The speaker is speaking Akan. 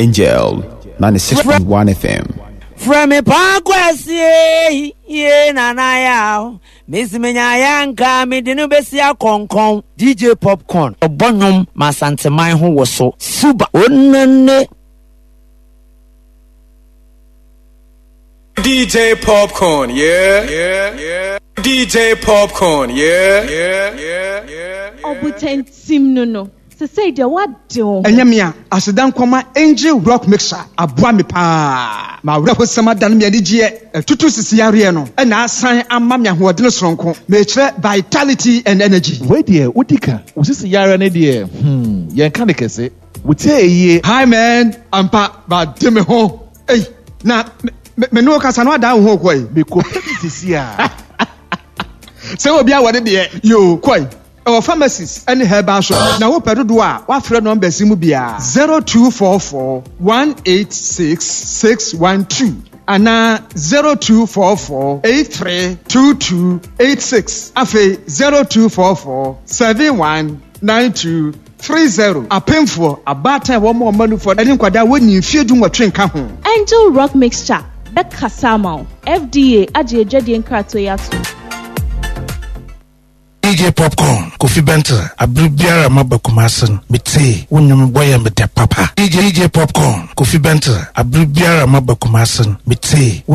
Angel 96.1 FM. Frɛ me paa kwasie yie nana yaw mesi menya ya nka mede no besi akɔnkɔn. DJ Popcorn ɔbɔ nnwom ma Asanteman ho woso. Suba onane. DJ Popcorn, yeah, yeah, yeah. DJ Popcorn, yeah, yeah, yeah. Ɔbotantim no no, sesei deɛ woade wo ho. Ɛnyɛ me a, aseda nkɔma Angel Rock Mixer aboa me paa. M'awerɛhosɛm adane me anigyeɛ, atutu sisi yareɛ no na asan ama me ahoɔdene soronko. Mekyerɛ vitality and energy. Wei deɛ wodi ka. Wo sisi yareɛ no deɛ hmm yɛnka no kɛse. Wo tie yie. Hi man, ampa made me ho ei na me me ne wo kasa no adan wo ho kɔ yi. Me kɔ pɛ bi sisi a. Sɛ obi awɔ ne deɛ yoo kɔ yi. Ɛwɔ pharmacies ne herbal shop na wopɛ dodoɔ a wafrɛ numbers yi mu biara 0244 186 612 anaa 0244 83 2286 afei 0244 71 92 30. Apemfoɔ, abaatan a wɔma wɔn mma nufoɔ ne nkwadaa a wɔnnii mfeɛ dunwɔtwe nka ho. Angel Rock Mixture bɛkasa ama wo. FDA agye adwadie nkratoɔ yi atom. DJ Popcorn, Kofi Bentil, Aber biara a maba Kumasi no, metsee wo ndwom bɔ yɛ me dɛ papa. DJ Popcorn, Kofi Bentil, Aber biara a maba Kumasi no, metsee wo.